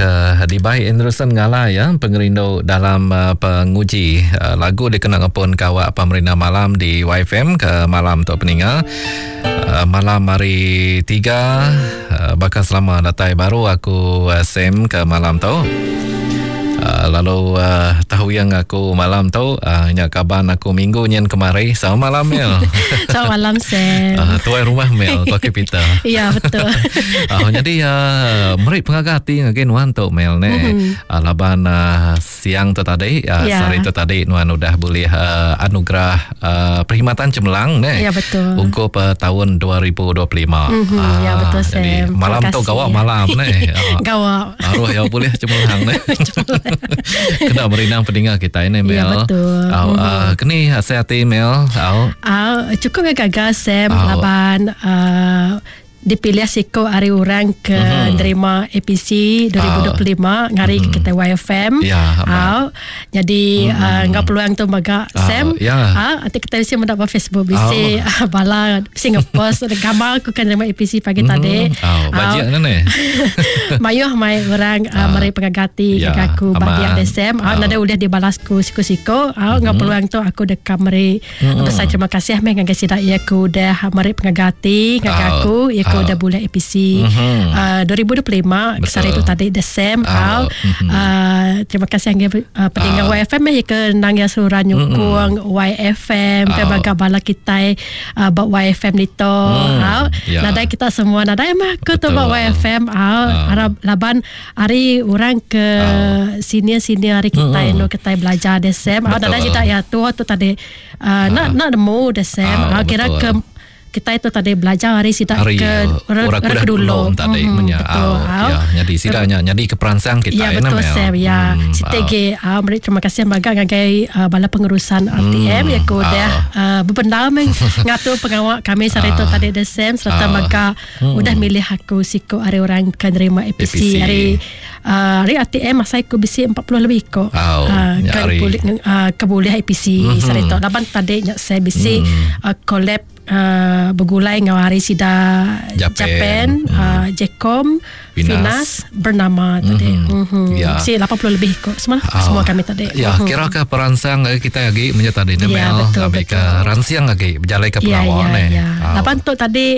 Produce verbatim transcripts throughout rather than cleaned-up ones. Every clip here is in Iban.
ke dibai Anderson Ngalai ya, pengerindu dalam uh, penguji uh, lagu dikena ngepun kawak pemerintah malam di Y F M ke malam tu peninga. Uh, malam hari tiga uh, bakal selama datai baru aku uh, Sam ke malam tu. Uh, lalu uh, tahu yang aku malam tu uh, nya kaban aku minggu nyen kemari. Selamat malam Mel. Selamat malam Sam. Uh, tuai rumah Mel, tuai Peter. Ya betul. uh, jadi uh, meri pengaga hati ngagai nuan tu Mel ne. Mm-hmm. Uh, laban uh, siang tu tadi, uh, ya. Sehari tu tadi nuan udah boleh uh, anugerah uh, perkhidmatan cemerlang ne. Ya betul. Ungkup uh, tahun dua ribu dua puluh lima. Mm-hmm. Uh, ya betul Sam. Jadi malam tu gawak malam ne. Uh, gawak. Aruh ya boleh cemerlang ne. Kena merinang pendengar kita ini Mel. Ya betul. Au, uh, kini saya hati Mel. Au. Au, cukup gagal Sam oh. Laban uh, dipilih siko hari orang ke mm-hmm. nerima A P C dua ribu dua puluh lima oh. ngari mm-hmm. kita Y F M. Ya, au. Jadi mm-hmm. uh, ngau peluang tu maga oh, Sam. Ya. Ah, nanti kita mesti mendapat Facebook bisi oh. bala Singapore gambar aku kan nerima A P C pagi mm-hmm. tadi. Oh, bajik kan ni. Mayuh mai orang uh, meri pengagati ya, ke aku bagi ada Sam. Ah, oh. Nada udah dibalasku siko-siko. Ah, mm-hmm. ngau peluang tu aku dekat meri mm-hmm. besar terima kasih meh ngagai sidak ya aku dah meri pengagati ngagai oh. aku ya aku dah bulan A P C mm-hmm. uh, dua ribu dua puluh lima kesari itu tadi the same uh, mm-hmm. uh, terima kasih yang uh, pendengar uh. Y F M ya ke nang yang seluruh nyukung mm-hmm. Y F M uh. ke baga bala kita uh, bak Y F M nito mm. uh. yeah. Nadai kita semua nadai mah ke tu bak Y F M uh. uh. Arab laban hari orang ke uh. senior-senior hari kita mm-hmm. no kita belajar the same uh, nadai kita ya tua tu tadi uh, uh. nak nak nemu the same uh, uh, kira ke kita itu tadi belajar hari sidak hari, ke orang orang dulu tadi mm, menya betul oh, ya jadi sidaknya jadi keperansang kita ya betul Sam ya hmm, sitege ah meri terima kasih maga ngagai uh, bala pengurusan R T M hmm, ya ku dah uh, berbendar meng ngatur pengawak kami sehari itu tadi the Sam serta uh, maga hmm. udah milih aku siko hari orang ke nerima A P C, A P C. Hari uh, hari R T M masa aku bisi empat puluh lebih ko oh, uh, ke boleh uh, ke boleh A P C mm-hmm. sehari itu laban tadi nyak saya bisi mm. uh, collab Uh, bergulai dengan hari sida Japan, Japan hmm. uh, Jekom, Finas, Finas bernama tadi. Mm-hmm. Mm-hmm. Ya. Si lapan puluh lebih kok semua oh. semua kami tadi. Ya, mm-hmm. kira ke peransang kita lagi punya tadi ni ya, Mel, betul, ambil betul. Ke ransiang lagi berjalan ke pengawal ya, ni. Ya. Oh. Lapan tu tadi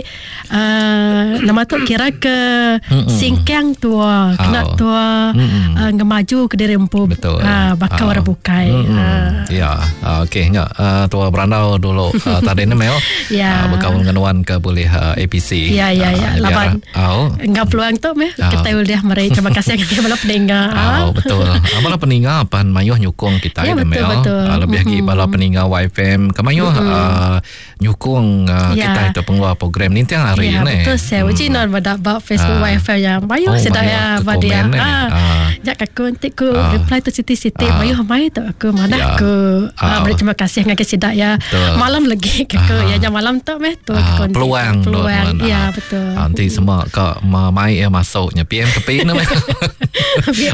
uh, nama tu kira ke mm-mm. singkang tua, kena oh. tua uh, ngemaju ke diri empu. Betul. Uh, bakal oh. orang bukai. Uh. Ya, uh, okey nya uh, tua berandau dulu uh, tadi ni Mel. Ya. Uh, berkawan dengan Wan ke boleh uh, A P C. Ya ya ya. Uh, Laban. Oh. Enggak peluang tu meh oh. kita boleh meri terima kasih kepada bala pendengar. Oh, betul. Bala pendengar pan mayuh nyukung kita ya, ya, betul, Mel. betul. Uh, lebih lagi mm-hmm. bala pendengar Y F M kemayuh mm-hmm. uh, nyukung uh, ya. kita itu pengeluar program ni tiap hari ya, ni. Betul saya. Uji hmm. non pada bab Facebook uh. Y F M yang mayuh oh, sedap ya pada dia. Ah. Jak aku nanti ku uh. reply tu siti-siti uh. mayuh mai tu aku mana ya. aku uh, beri terima kasih ngagai sidak ya. Betul. Malam lagi aku ya jam malam tu meh tu ah, peluang peluang tu, ya betul. Nanti semua kak mai ya masuknya P M tepi ni.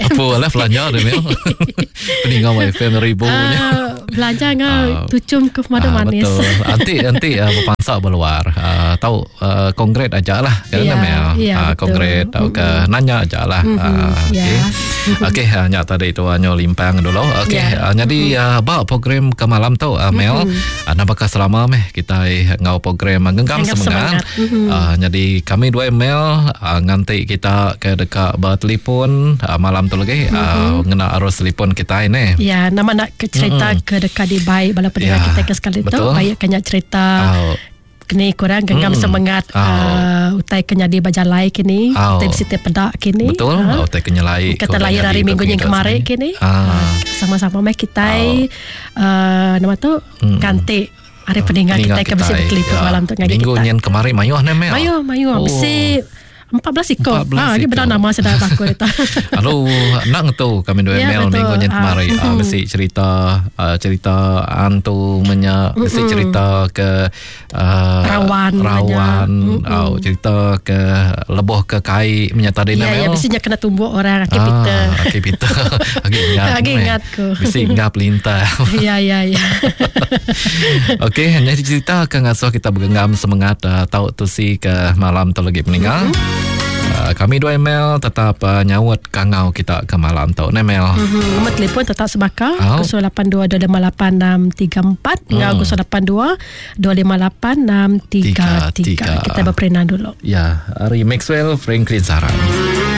Apa lah belanja dia Mel. Peninggal Y F M ribunya. Uh, belanja ngau uh, tucum ke madu uh, manis. Betul. Nanti nanti uh, berpansak berluar. Uh, tahu uh, kongret aja lah kan ya, Mel. Ya, uh, kongret atau ke nanya aja lah. Mm-hmm. Uh, ya. Okey. Okey, uh, nyak tadi tu nyo limpang dulu. Okey, ya. uh, jadi uh, bak program ke malam tu uh, Mel. Mm-hmm. Uh, nak bakal selama meh kita ngau program genggam Genggam semangat. semangat. Mm-hmm. Uh, jadi kami dua email uh, nganti kita ke dekat bertelefon uh, malam tu lagi mm-hmm. uh, ngena arus telefon kita ini. Ya, nama nak ke cerita mm-hmm. ke dekat di baik bala pendengar ya, kita ke sekali tu baik kena cerita. Oh. Kini kurang genggam mm. semangat oh. uh, utai kena di bajalai kini oh. utai bisi pedak kini betul ha? Utai kenyelai kata lahir hari minggu yang kemarin kini ah. uh, sama-sama meh kita oh. uh, nama tu mm. ganti hari pendengar kita ke bisi bertelefon ya. malam tu ngaji minggu kita. Nyen kemarin mayuh ne Mel. Mayuh mayuh oh. Bisi empat belas ekor. empat belas Ha, ini benar nama sedar aku itu. Lalu nak ngetu kami dua Ya, email betul. minggu nyen kemarin. Ah, Ah, mesti cerita ah, cerita hantu menya, mesti cerita ke ah, Rawan rawan, menya. oh, cerita ke leboh ke kai menya tadi Ya, ya, Mel. mestinya kena tumbuk orang Aki Peter. Ah, Aki Peter. Aki ingat. Aki meh. ingat ku. Mesti ngap lintah. Ya, ya, ya. Okey, hanya cerita ke ngasuh kita bergenggam semangat uh, tahu tu si ke malam tu lagi peninggal. Mm-hmm. Uh, kami dua email tetap uh, nyaut kangau kita ke malam tu. Ne Mel. Mm-hmm. Nombor telefon tetap sebaka oh. kosong lapan dua dua lima lapan enam tiga empat dengan kosong lapan dua dua lima lapan enam tiga tiga. Kita berperindang dulu. Ya, hari Maxwell Franklin Saran.